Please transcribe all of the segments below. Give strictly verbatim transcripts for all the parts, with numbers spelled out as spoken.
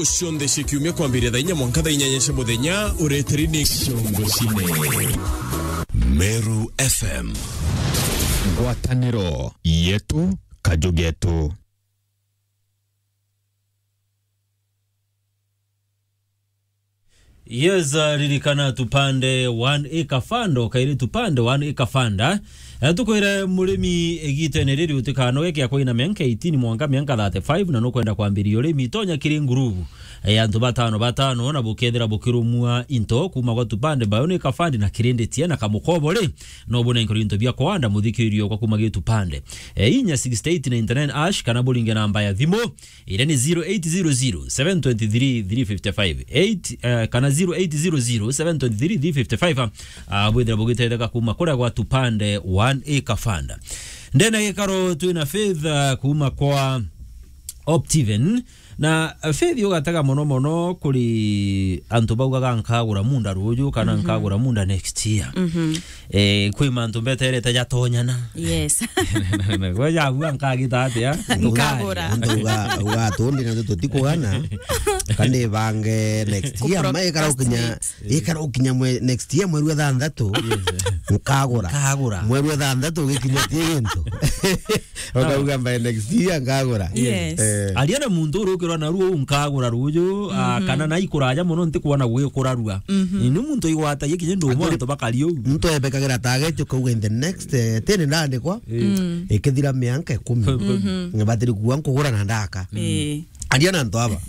Cionthe cia kiumia kwambiria thaa inya mwanka thaa inyanya cia muthenya, ureteri ni Ciongo Cine. Meru F M. Ngwataniro yetu, kaju getu. Yes, uh, ririkana tupande one acre fund, o kairi tupande one acre fund, eh? Eh, tukwire murimi igitene riri utikanoge kia kwina mianka eighteen mwanka mianka thirty-five, na nukwenda kwambiria urimi, tonya kiri ngurubu, eh, antu batano batano, na bukethira bukirumua into kuma gwa tupande by one acre fund na kirinditie na kamukobo ri, no bune nkoro into bia kwanda muthikirio kwa kuma gi tupande. Eh, inya sixty-eight ninety-nine ash kana buringe namba ya thimu, iria ni zero eight zero zero, seven twenty-three, three fifty-five, eight, eh, kana zero eight zero zero, seven twenty-three, three fifty-five, ah, bwithira bugitetheka kuma kuria gwa tupande one acre fund. Ndene gikaro twina Faith, ah, kuma kwa Optiven. Na, ah, Faith, ugatega mono mono kuri antu baugaga, "Nkagura munda ruju," kana, "Nkagura munda next year." Eh, kwi mantu mbeterete jatonyana. Yes. Gwe jabua nkagita atia? Nkagura. Antu uga, uga tundi na tutikugana. Kandi bange next year, ma ikara ukinya, ikara ukinya mwe, next year mweri wa thanthatu. Nkagura. Nkagura. Mweri wa thanthatu ugikinya ti gintu. Ukauga by next year nkagura. Yes. Eh. Aria na muntu urukirwa na ruo, "Nkagura ruju," ah, kana na ikuraja mono, ntikwona gwikurarua. Ni muntu igwatagia kinya ndu mwanto bakari uu. Muntu ebekagira target ukauga in the next, eh, ten ndandikwa. Ikithira mianka ikumi. Ngibatiri kuwa nkugura na ndaka. Eh. Aria na antu aba.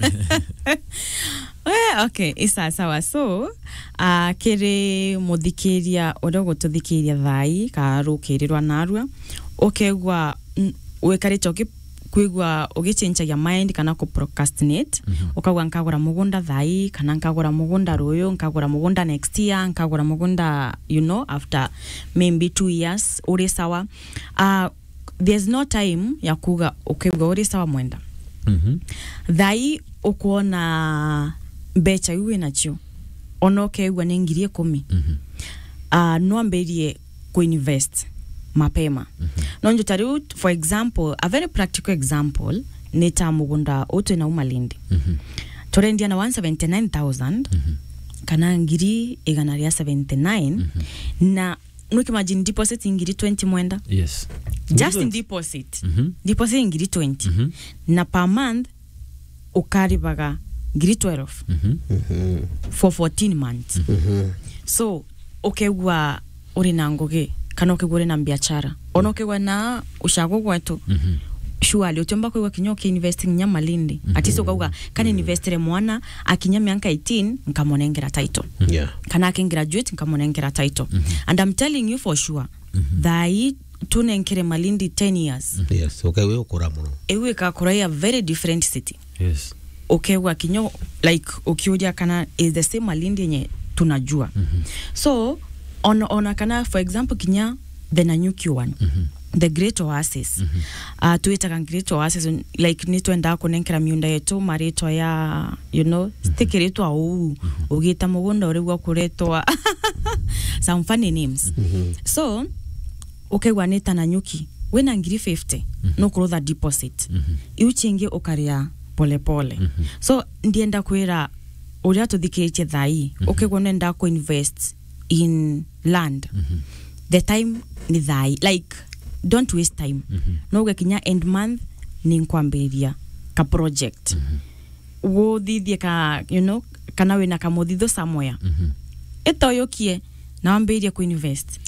Eh, okay, isa sawa. So, ah, kiri muthikiria uria ugututhikiria thaa ii, ka rukirirwa narua, ukegua, n-, wikarite uki-, kwigua ugichenjagia mind kana ku procrastinate, ukauga, "Nkagura mugunda thaa ii, kana nkagura mugunda ruyu, nkagura mugunda next year, nkagura mugunda, you know, after maybe two years," uri sawa. Ah, there's no time ya kuga ukigua uri sawa mwenda. Thaa ii ukwona mbecha iu winacio, ona ukegua ni ngiri ikumi. Ah, no ambirie kuinvest mapema. No nju ta riu, for example, a very practical example, ni ta mugunda uu twina u Malindi. Turendia na one seventy-nine thousand, kana ngiri igana ria seventy-nine, na no imagine deposit ngiri twenty mwenda. Yes. Just ngiri twenty. Deposit. Deposit ngiri twenty. Na per month ukaribaga ngiri twelve for fourteen months. So, ukegua uri na ngugi, kana ukegua uri na biashara. Ona ukegua na ucago gwetu. Surely, utiumba kwigua kinya ukiinvest nginya Malindi. At least ukauga, "Kana investire mwana, akinya mianka eighteen, nkamunengera title." Yeah. Kana akingraduate, nkamunengera title. And I'm telling you for sure, thaa ii tunenkere Malindi ten years. Yes, okay, we ukura muno. Iu ikakura a very different city. Yes. Ukegua kinya, like, ukiuria kana is the same Malindi yenye tunajua. So, on, ona kana, for example, kinya the Nanyuki one, the Great Oasis. Ah, twitaga Great Oasis, like, ni twendaa kunenkera miunda yetu maritwa ya, you know, stikiritwa uu, ugita mugunda urigwa kuretwa some funny names. So, ukegua ni ta Nanyuki, wina ngiri fifty, nukurutha deposit. Iu chingi ukaria polepole. So, ndienda kwira uria tuthikiritie thaa ii, ukegua nenda kuinvest in land. The time ni thaa ii. Like, don't waste time. No uge kinya end month ni nkwambiriria ka project. Guthithie ka, you know, kana wina kamuthithu somewhere. Itoyukie na wambirie kuinvest.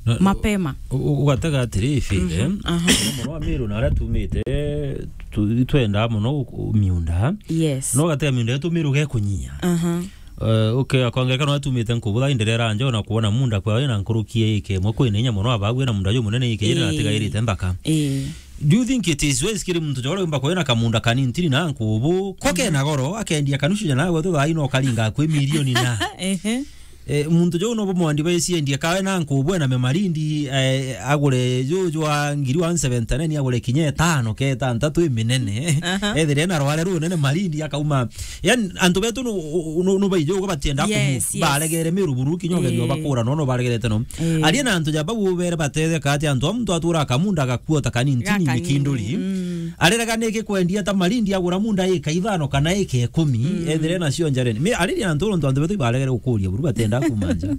Na, mapema. U-, u-, ugatega atiri, Faith, eh? Muno wa Miru na aria tumite, tu-, twendaa muno u-, u-, miunda. Yes. No ugatega miunda yetu Miru gekunyia. Eh, okay, kwa ngerekano, atumite nkubutha inderera njo na kuona munda kwa wina nkuruki ya ika imwe kwina inya muno, abagu ena munda jumunene ika iri na atigairite nthaka. Eh. Do you think it is wise kiri muntu jora umba kwina kamunda kanini ntiri na nkubu? Ko kena goro, akendia kanusu jana gwetu thaa ino karinga kwi milioni na. Ehe. Eh, muntu juu no bumwandi baiciendie kawe na nkubwe na memarindi, eh, agure juu jwa ngiri one seventy-nine, agure kinya etano ke etantatu iminene. Aha. Ethire na rware runene marindi akauma. Yani, antu betu nu, nu, nu baije uga batienda kumu. Yes, yes. Baregere Meru buru kinya ugerio bakura, no, no baregerete no. Eh. Aria na antu ja bau bere batetheka ati antu a muntu atura akamunda agakua ta kanini, tini ni kinduri. Mm. Arerega niki kwendia ta marindi agura munda ika ithano kana ika ikumi, ethire nacio njareni. Me, ariria antu nontu antu betu ibaregere gukuria buru batenda kuma nja.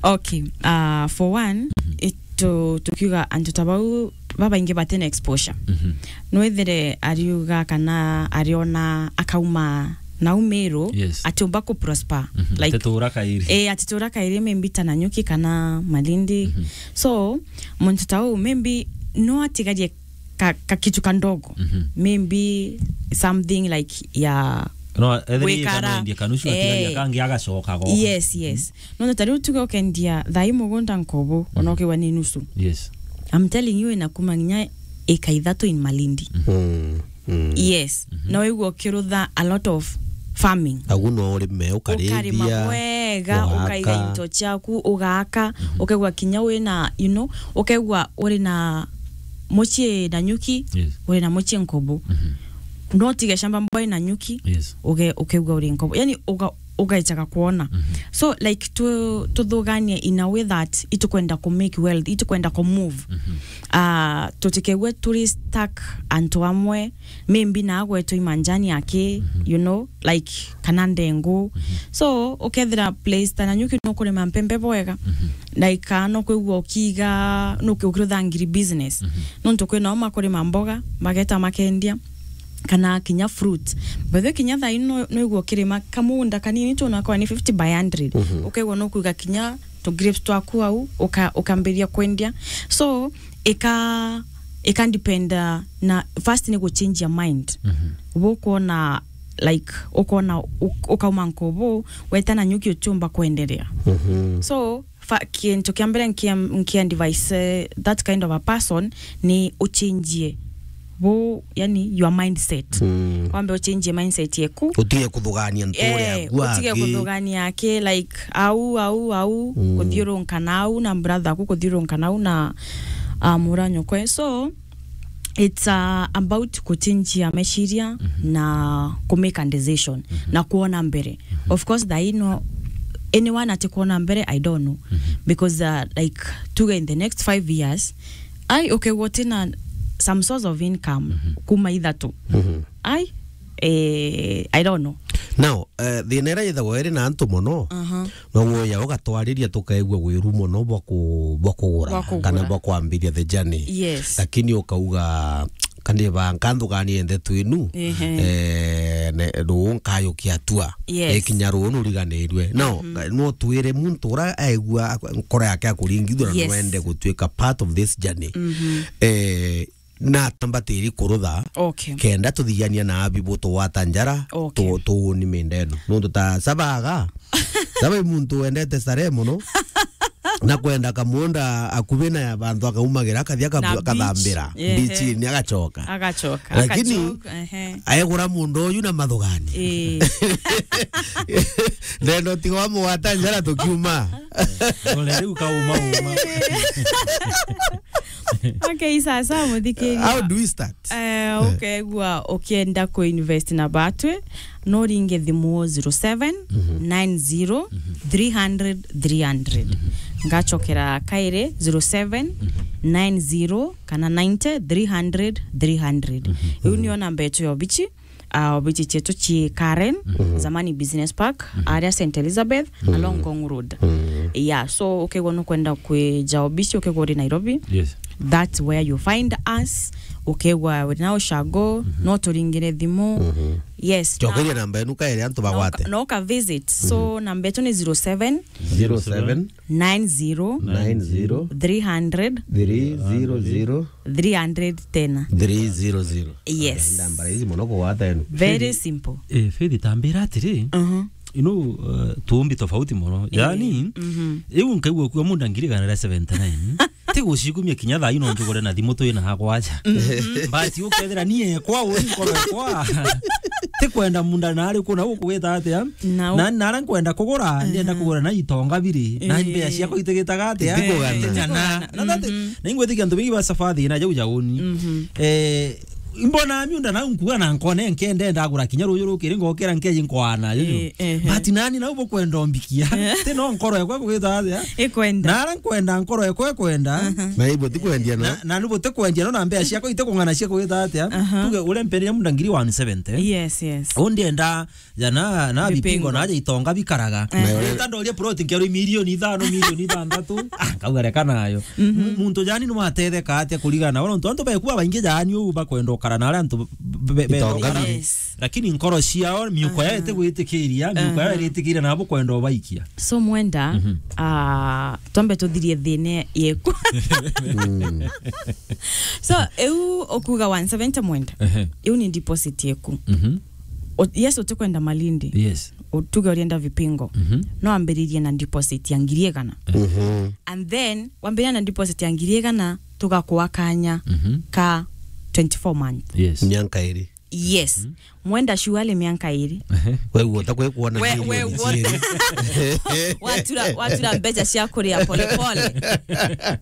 Okay, uh, for one, itu, tukiuga antu ta bau babaingi batena exposure. Mhm. Nwethire ariuga kana ariona akauma nau Meru, yes, atiumba ku prosper. Mhm. Like, atitura kairi. Eh, atitura kairi maybe ta Nanyuki kana Malindi. Mhm. So, muntu ta uu maybe no atigarie ka, ka kitu kandogo. Mhm. Maybe something like ya no, ethiri gwikara, kana endia kanusu, atigaria, eh, kangi agacoka go. Yes, yes. Mhm. Nontu ta riu tuge ukendia thai mugunda nkobo, ona, mhm, ukigwa ni nusu. Yes. I'm telling you, ina kuma nginya ika ithatu in Malindi. Mhm. Mm, mm. Yes. Mhm. Na wigua ukirutha a lot of farming. Agu no urime, ukarima, ukarithia, bwega, ugaaka, ukaiga into ciaku, ugaaka, mhm, ukegwa kinya wina, you know, ukegwa uri na mucii Nanyuki, yes, uri na mucii nkobo. Mhm. No utige shamba mbwa Nanyuki, yes, uge-, ukegwa uri nkobo. Yani, uga-, ugaechaga kwona. Mhm. So, like, tu-, tuthuganie in a way that itukwenda ku make wealth, itukwenda ku move. Mhm. Ah, tutikewe turi stuck antu amwe, maybe na agwetwe imanjani aki, mhm, you know, like, kana ndengu. Mhm. So, ukethira place ta Nanyuki no kurima mpembe bwega, mhm, like, kana no kwigua ukiga, no kwigua ukirutha ngiri business. Mhm. Nontu kwina o makurima mboga, mageta makendia, kana kinya fruit. By the way, kinya thaa ino no, no igua ukirima kamunda kanini tu, na kwa ni fifty by hundred. Mhm. Ukegwa no kuiga kinya tu grapes twaku au, uka-, ukambiria kwendia. So, ika, ika depend, uh, na first ni guchange your mind. Mhm. Ubu ukwona, like, ukwona u-, ukauma nkobo, weta Nanyuki utiumba kwenderea. Mhm. So, fa-, kintu kia mbere nkia, nkia advice, eh, that kind of a person ni uchange bu, yani, your mindset. Mm. Wambe uchange mindset yeku. Utige kuthugania ntu uria, eh, agu utige angi kuthugania aki, like, au, au, au, mm, kuthiurunka nau na brother aku, kuthiurunka nau na, ah, mura nyokwe. So, it's, uh, about kuchange ya meciria, mhm, na ku make a decision, mhm, na kuona mbere. Mhm. Of course, thaa ino, anyone ati kuona mbere, I don't know. Mhm. Because, uh, like, tuge in the next five years, ai, ukegwa utina some source of income, mhm, kuma ithatu. Mhm. Ai, eh, I don't know. Now, eh, thina iria yithagwa iri na antu mono, aha, no woya ugatwariria tukaigua wiru mono bwa ku-, bwa kugura, bwa kugura, kana bwa kwambiria the journey. Yes. Lakini ukauga, "Kani ba nkanthugani ende twinu, ehe, eh, ne, ruu nkayukia atua." Yes. Ikinya ruu nuriganirue. Now, mhm, no twire muntu ura aigua ak-, nkoro yake akuringithua na, yes, no ende gutuika part of this journey. Mhm. Eh, na tambatiri kurutha, okay, kenda tuthiania na abi butugwata njara, okay, tu-, tuuni mindeno. Nuntu ta Sabaga, Saba i muntu wendete starehe mono, na kwenda kamunda akubi na ya bantu akaumagira, akathia akabu-, na beach, akathambira, ehe, beach-ini agacoka. Agacoka. Lakini agacoka, ehe, aegura munda uyu na mathugani. Ii. Ndenda utiga wamugwata njara tukiuma. Ole riu kauma uma. Okay, sasa, muthikiria. How do we start? Eh, eh, ukegua ukienda ku invest na batwi, no ringe thimu zero seven nine zero three hundred three hundred. Ngacokera kairi, zero seven nine zero kana ninety three hundred three hundred. Iu niyo namba yetu ya obichi. Ah, obichi cietu ci Karen, zamani Business Park, aria Saint Elizabeth, along Ngong Road. Yeah, so ukegwa nukwenda kwija obichi, ukegwa uri Nairobi, yes, that's where you find us. Ukegwa uri na ushago, no turingire thimu. Yes, cokeria namba yenu kairi antu bagwate. No ka visit. So, namba yetu ni zero seven, zero seven, nine zero, nine zero, three hundred, three zero zero, three hundred tena. Three zero zero. Yes. Namba rahisi mono kugwata yenu. Very simple. Eh, Faith, tambira atiri, you know, uh, tuumbi tofauti mono. Eh, yani, iu nkaigua kuwa munda ngiri igana ria seventy nine. Ti gucikumia kinya thaa ino njugure na thimu twina hakwa aja. But ukethira ni ekwa, uri nkoro ekwa. Ti kwenda munda na ari kuna gukugita atia? Na u- Na, na ara nkwenda kugura, ndienda kugura na itonga biri. Na Eh. Mbea ciakwa itigitaga atia? Itikugana. Itikugana. Na that, na ingwitikia antu bingi ba sabathi na jau jauni. Eh, imbona miunda na nkuga na nkone nkende ndagura kinya ruju rukiri ngokira nkeji nkwana, juju. Eh, eh, eh. But nani na ubo kwenda ombikia? Ti no nkoro yakwa kugita atia? Ikwenda. Na ara nkwenda nkoro yakwa ikwenda. Na ibo tikwendia no. Na, na nibo tikwendia no na mbea ciakwa itikung'ana cia kugita atia? Tuge uria mpenderia munda ngiri one seventy. Yes, yes. Undi enda jana na bipingo. Bipingo na aja itonga bikaraga. Eh. Rita ndoria plot nkerwa milioni ithano, milioni ithanthatu. Ah, nkauga reka nayo. M-, muntu jani ni watetheka atia kurigana? Wala antu, antu bekua baingi jani u bakwenda ukara na aria antu be-, be-, be-, itonga biri. Yes. Lakini nkoro ciao, miuko yao itigwitikiria, miuko yao iritikiria nabo kwenda ubaikia. So Mwenda, ah, twambe tuthirie thina yeku. So, eu ukuga one seventy Mwenda. Ehe. Eu ni deposit yeku. O-, yes, utikwenda Malindi. Yes. Utuge urienda Vipingo. No ambiririe na deposit ya ngiri igana. And then, wambiriria na deposit ya ngiri igana, tugakua kanya ka twenty-four months. Yes. Mianka iri. Yes. Mwenda shuali mianka iri. Ehe. We guota kwe kuona We, milioni we guota. ciiri. Watura, watura mbeca cia kuria polepole.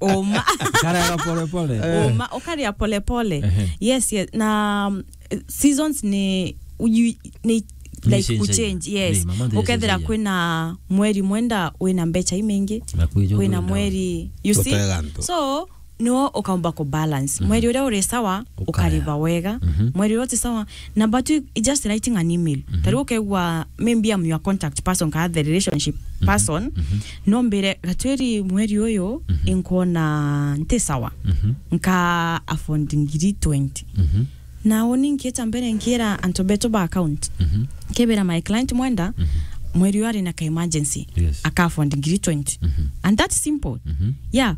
Uma. Karega polepole. Uma, ukaria polepole. Ehe. Yes, yes. Na, mm, seasons ni uyu ni like kuchange, yes. Ukethira kwina mweri Mwenda wina mbeca imingi, kwina mweri, you see? So, no ukaumba ku balance. Mweri uria uri sawa, ukariva wega. Mweri uria uti sawa, na but you just writing an email. Tari ukegwa, maybe I'm your contact person, ka the relationship person. No mbire, Gatwiri, mweri uyu, inkuona nti sawa. Nka afford ngiri twenty. Na uni nkieta mbere nkiera antu betu ba account. Nkebera my client Mwenda, mweri uyu ari na ka emergency. Yes. Aka afford ngiri twenty. And that's simple. Yeah.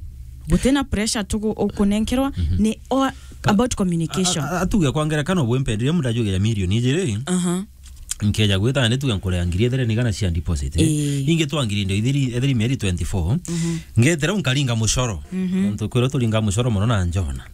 Gutina pressure tugu-, ukunenkerwa, ni all about communication. A-, a-, atuge kwa ngerekano, bwe mpenderia mundu ajugira milioni ijiri. Nkeja gwita ni tuge nkurea ngiri ithiri ni igana cia deposit, eh? Ii. Ingi twa ngiri indo ithiri, ethiri mieri twenty-four. Ngetera nkaringa mucoro. Ntu kwira turinga mucoro muno na njona.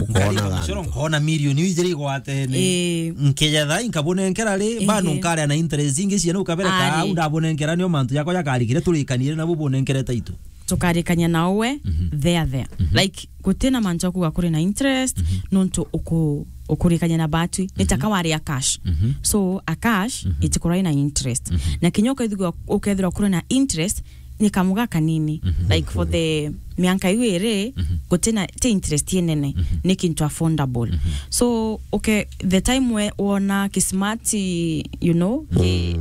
Nkaringa mucoro, nkona milioni ijiri igwatene. Ii. Nkeja thaa nkabunenkera ri, bado nkarea na interest ingi ciene ukabere ka au ndabunenkera nio mantu jakwa jakarikire turikanire nabo bunenkere taitu. Tukarikania na uwe there there. Like, gutina mantu akuga kuri na interest, nontu uku-, ukurikania na batwi, ni taka wari a cash. So, a cash, itikorwa ina interest. Na kinya ukethirwa, ukethirwa kuri na interest, ni kamuga kanini. Like, for the mianka iu iri, gutina, ti interest inene, ni kintu affordable. So, okay, the time we wona kismart, you know, ki-,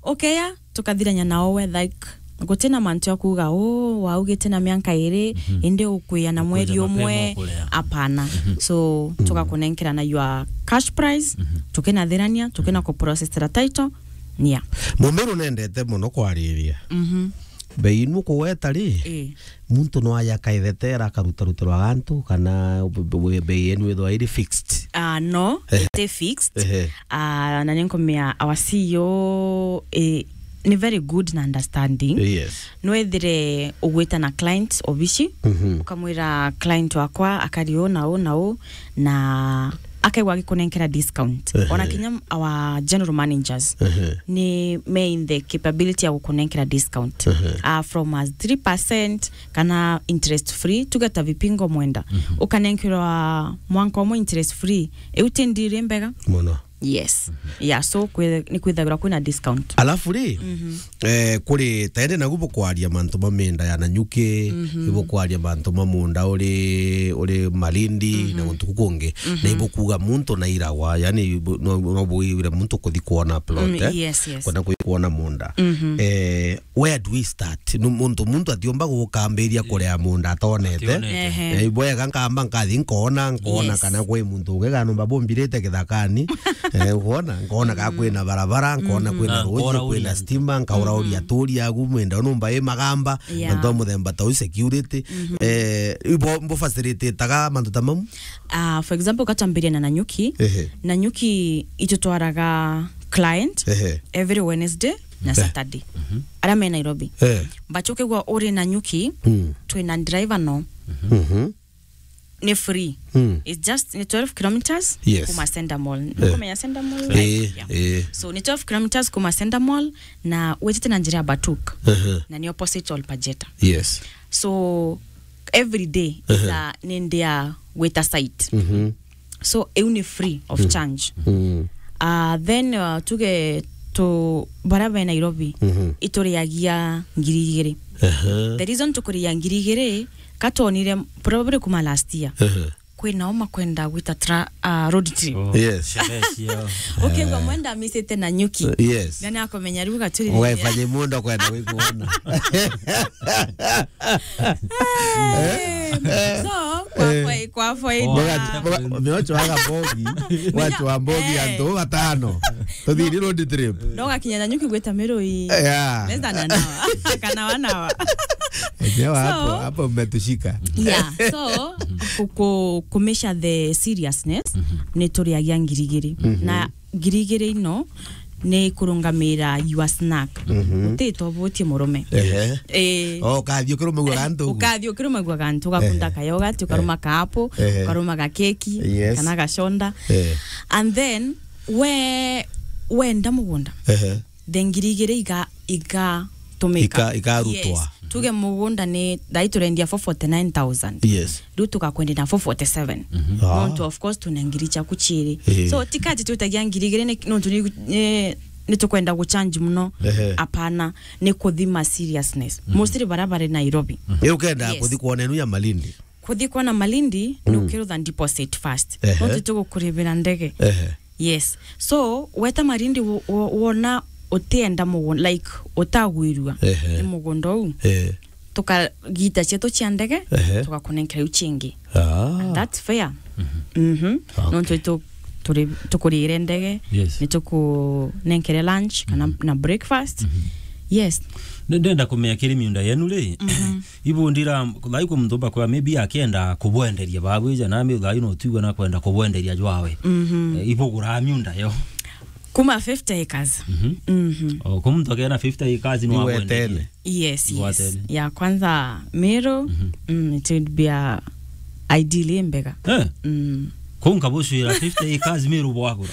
ukeya, tukathirania nao we, like, gutina mantu ya kuuga, "Oh, waugite na mianka iri, indi ukwia na mweri umwe." Apana. So, tugakunenkera na your cash price, tukinathirania, tukina kuprocessera title, nia. Mumiru nendete muno kwariria. Bei inu kugweta ri, muntu no aja akaithetera akarutarutirwa gantu, kana b-, b-, bei yenu ithwa iri fixed? Ah, no, iti fixed. Ah, na ninkumia our C E O, eh, ni very good na understanding. Yes. Nwethire ugwita na client obici, ukamwira client wakwa akari uu na uu na uu, na akaigua agikunenkera discount. Ona kinya our general managers ni me in the capability ya gukunenkera discount. Ah, from as three percent kana interest free, tuge ta Vipingo Mwenda. Ukanenkerwa mwanka umwe interest free. Iu ti ndiri mbega? Muno. Yes. Yeah, so kwi-, ni kwithagirwa kwina discount. Alafu ri, eh, kuri taende nagu bukwaria mantu ma minda ya Nanyuki, ibukwaria mantu ma munda uri, uri Malindi, na guntu kukungi. Na ibukuga muntu na iragwa, yani ibu-, no, no bwire muntu kuthi kuona plot, eh? Yes, yes. Kwenda kuthi kuona munda. Eh, where do we start? Nu-, muntu, muntu atiumba gukambiria kurea munda atonete. Ationete. Ehe. Eh, ibwega nkamba nkathi nkona, nkona kana kwi muntu ungi kana numba bumbirite githakani. Eh, nkona, nkona ka kwina barabara, nkona kwina ruji, kwina stima, nkaurauria aturi agu, mwenda numba i magamba, antu a muthemba ta u security. Eh, ibo, mbo facilitateaga mantu ta mau? Ah, for example, katwambiria na Nanyuki. Ehe. Nanyuki itutwaraga client every Wednesday na Saturday. Aria me Nairobi. Eh. But ukigwa uri Nanyuki, twina driver no. ni free. Mm. It's just ni twelve kilometers. Yes. Kuma Center Mall. Eh. Ukumenya Center Mall? Eh, yeah. Eh. So ni twelve kilometers kuma Center Mall na wetete na njira ya Batuk. Uh-huh. Na ni opposite Olpajeta. Yes. So every day is, uh-huh, a, ni ndia gwita site. Mm-hmm. So iu ni free of charge. Mm. Uh, then, uh, tuge tu bara be Nairobi, mm-hmm, ituriagia ngiri igiri. Uh-huh. The reason tukuriagia ngiri igiri, katonire probably kuma last year. Uh-huh. Kwina uma kwenda gwita tra-, uh, road trip. Oh, yes. Sherehe cio. Ukigwa mwenda misite na nyuki. Uh, yes. Ngani akomenya riu gaturi. Wefanye mundo kwenda gwikuona. Eh, so, kwa, eh, fai-, kwa faida. Mboga, mboga, miocho aga mbogi, watu wa mbogi, eh, antu batano. Tuthiri road trip. Ndoga kinya na nyuki gwita Mirui. Yeah. Less than an hour. Kana one hour. Enyewe hapo, so, hapo mmetushika. Yeah, so, ku, ku, ku measure the seriousness, ni turiagia ngiri igiri. Mhm. Na ngiri igiri ino ni kurungamira your snack. Mhm. Utitobotie murume. Ehe. Eh. Oh, ukathi ukirumagua gantu. Ukathi ukirumagua gantu, ugakunda, ehe, ka yogurt, ukaruma, eh, ka apple, ehe, ukaruma ga keki, yes, kana ga soda. Eh. And then, we, wenda mugunda. Ehe. The ngiri igiri iga-, igatumika. Ika-, ikarutwa. Yes. Tuge mugunda ni, thai turendia for forty-nine thousand. Yes. Riu tugakwendia na four forty-seven. Mhm. Ah. Nontu, of course, tuna ngiri ciaku ciiri. Eh. So, tikati tutagia ngiri igiri ni, nontu ni, ni, ni tukwenda guchange muno. Ehe. Apana, ni kuthima seriousness. Mhm. Mostly bara bari Nairobi. Mhm. Ni ukenda, yes, kuthi kwona inu ya Malindi? Kuthi kwona Malindi, mm, ni ukirutha deposit first. Ehe. Nontu tugukuribira ndege. Ehe. Yes. So, weta Malindi wo-, wo-, wona utienda mugunda, like, utagwirua, ehe, ni mugunda uu. Ehe. Tukagita cietu cia ndege, ehe, tugakunenkera iu ciingi. Ah. And that's fair. Mhm. Mhm. Okay. Nontu itu-, turi-, tukurire ndege, yes, ni tukunenkere lunch kana, mhm, na breakfast. Mhm. Yes. Nde-, ndenda kumenya kiri miunda yenu ri? Mhm. Ibundira, thai kwi muntu umba kwaa, maybe akienda kubwenderia babwija, na maybe thai no twigua na kwenda kubwenderia jwawe. Mhm. Eh, ibuguraa miunda yo. Kuma fifty acres. Mhm. Mhm. O, kwi muntu akena fifty acres no abwenderie? Igwetene. Yes, yes. Igwetene. Ya kwanza Meru, mhm, mm, it would be a ideal mbega. Eh? Mm. Kuu nkabucwira fifty acres Meru bwagura.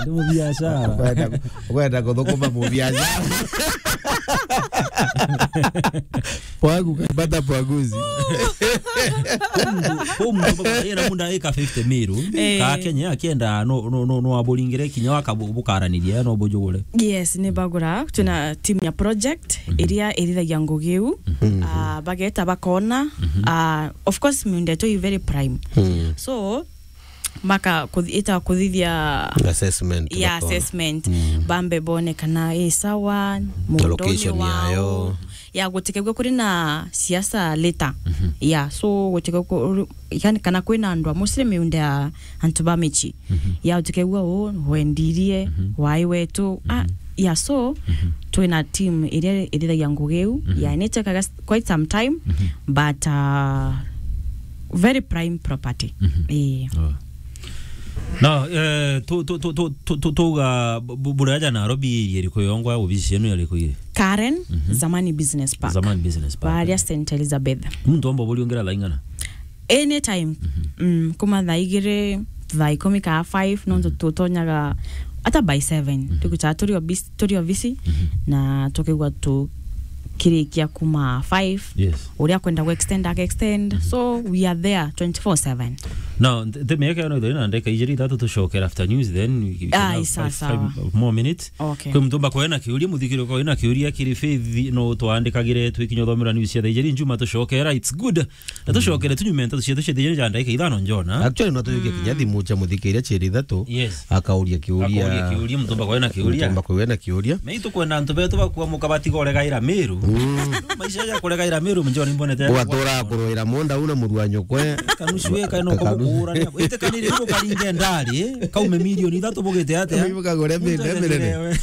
Ndi mubiashara. Kwenda, kwenda kuthukuma mubiashara. Pwagu kabata pwaguzi. Kuu muntu, kuu muntu baba yena munda eka fifty Meru. Eh. Ka Kenya akienda no, no, no, no aburingire kinya wakabu-, bukaraniria no bujugure. Yes, ni bagura. Twina team ya project, mhm, iria irithagia ngugi iu. Mhm. Ah, bageta bakona. Mhm. Ah, of course, miunda yetu i very prime. Mhm. So, maka kuthi-, ita kuthithia assessment, yeah, bakona. Assessment. Mm. Bambe bone kana i sawa, muunda location wao. Yayo. Ya gutikegua kuri na siasa later. Mhm. Ya, so gutikegua ku-, yani kana kwina andu a mostly miunda ya antu ba mici. Mhm. Ya gutikegua u wendirie, mhm, wai wetu. Ah, mhm, ya, so, mhm, twina team iria irithagia ngugi iu. Mhm. Ya, ni tekaga quite some time, mhm, but, uh, very prime property. Mhm. Eh. Oh. No, eh, tu, tu, tuga bu-, bu-, buraja Nairobi iri iriku yongwa, obici cienu iriku iri? Karen, mhm, Zamani Business Park. Zamani Business Park. Baria Saint Elizabeth. Muntu omba buriungira thaa ing'ana? Anytime. Mhm. Mm, kuma thaa igiri, thaa ikumi kaa five, nontu, mhm, tutonyaga ata by seven. Mhm. Tukucaa turi obis-, turi obisi, mhm, na tukigwa tukirikia kuma five. Yes. Uria kwenda ku extend, aka extend. Mhm. So, we are there twenty-four seven. Now, nte-, nte miaka ino ithiri na ndeka ijiri ithatu tucokera after news, then we, we can, ah, have five, sawa, five more minutes. Okay. Kwi muntu umba kwena kiuria, muthikiri kwena kiuria kiri Faith, no twandikagire twikinya uthomera news cia thaa ijiri njuma tucokera. It's good. Na tucokere tunyume nteto cietu cia thijiri ja ndagika ithano njona. Actually, no tuyukie, mm, kinya thimu cia muthikiria ciiri ithatu. Yes. Akauria kiuria. Akauria kiuria, muntu umba kwena kiuria. Muntu umba kwena kiuria. Me itukwenda antu betu bakua muka batiga uregaira Meru. Mm. Maisha ja kuregaira Meru, njona imbonete. Ugatura kuruira munda una muru wa nyukwe. Kanusu eka no. Ka-, kanusu. Kubukurania. Ite kaniri ukaringe ndari, kaume milioni ithatu bugite atia? Ibuka kure minde mirene.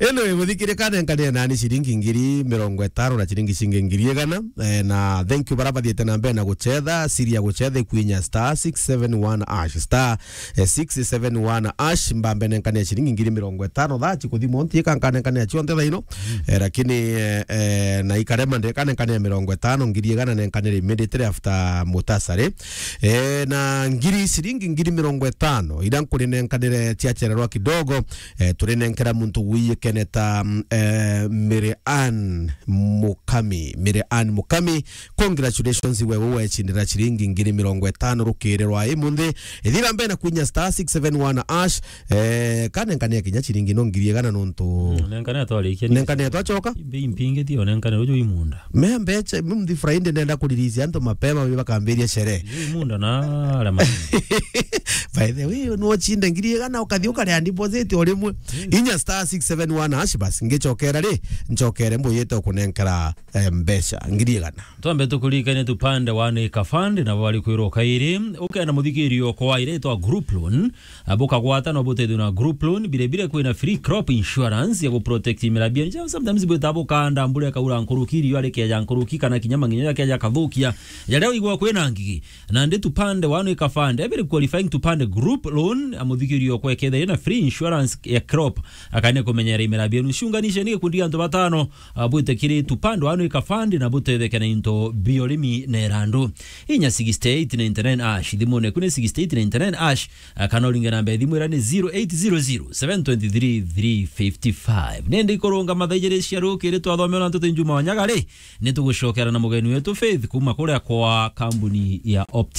Ino iguthikiria kanenkania nani ciringi ngiri mirongo itano na ciringi cingi ngiri igana. Eh, na thank you bara bathiete na mbere na gucetha. Siri ya gucetha ikwinya star six seven one hash, star, eh, six seven one hash. Mbambe nenkania ciringi ngiri mirongo itano thaa cikuthimwo nti ikankanenkania cionthe thaa ino. Mm. Eh, lakini, eh, eh, Eh, na ikarema ndeka nenkane ya mirongo itano, ngiri igana nenkanire immediately after mutasari. Eh, na ngiri, ciringi ngiri mirongo itano, ira nkurinenkanire ciachererwa kidogo, eh, turinenkera muntu wiyikene ta, mm, eh, Mary Ann Mukami. Mary Ann Mukami, congratulations, wewe wecindira ciringi ngiri mirongo itano rukiri rwa imunthi. Ithira mbere na kwinya star six seven one ash, eh, kanenkane kinya ciringi no ngiri igana nontu Mm, nenkane atwarikia ni nenkane atwachoka? Bei mpingi tio nenkane uju imunda. Me mbecha, mthi Friday nenda kuriricia antu mapema, bi bakambiria sherehe. Uju imunda na arama. By the way, no cinde ngiri igana ukathi ukaria deposit o rimwe. Inya star six seven one hash bas, ngichokera ri, nchokere mbuyite ukunenkera, eh, mbecha ngiri igana. Twambe tukuririkanie tupande wa Neka Fund, nabo bari kwirwo kairi. Ukenda muthikirio kwa ire itwa group loan, ah, bukagwata no butethio na group loan, bire bire kwina free crop insurance ya guprotect imera bienu. Sometimes bwita bukanda, mbura ikaura nkuruki, riua rikeja nkuruki, kana kinya manginya jakeja kathukia. Jaria igwa kwina ngigi. Nandi tupande wa Neka Fund, every qualifying tupande group loan, ah, muthikirio kwekethia na free insurance ya crop. Akane kumenyera imera bienu. Ciunganishe ni gikundi gia antu batano, ah, bwite kiri tupande wa Neka Fund na butetheke na into bia urimi na irandu. Inya sixty eight ninety nine ash, thimune ku ni sixty eight ninety nine ash, ah, kana uringe namba ya thimu ira ni zero eight zero zero, seven twenty three, three fifty five. Nende ikurunga mathaa ijiri cia rukiri twathomewa na ntuti Juma Wanyaga ri, ni tugucokera na mugeni wetu Faith kuma kuria kwa kambuni ya Opti.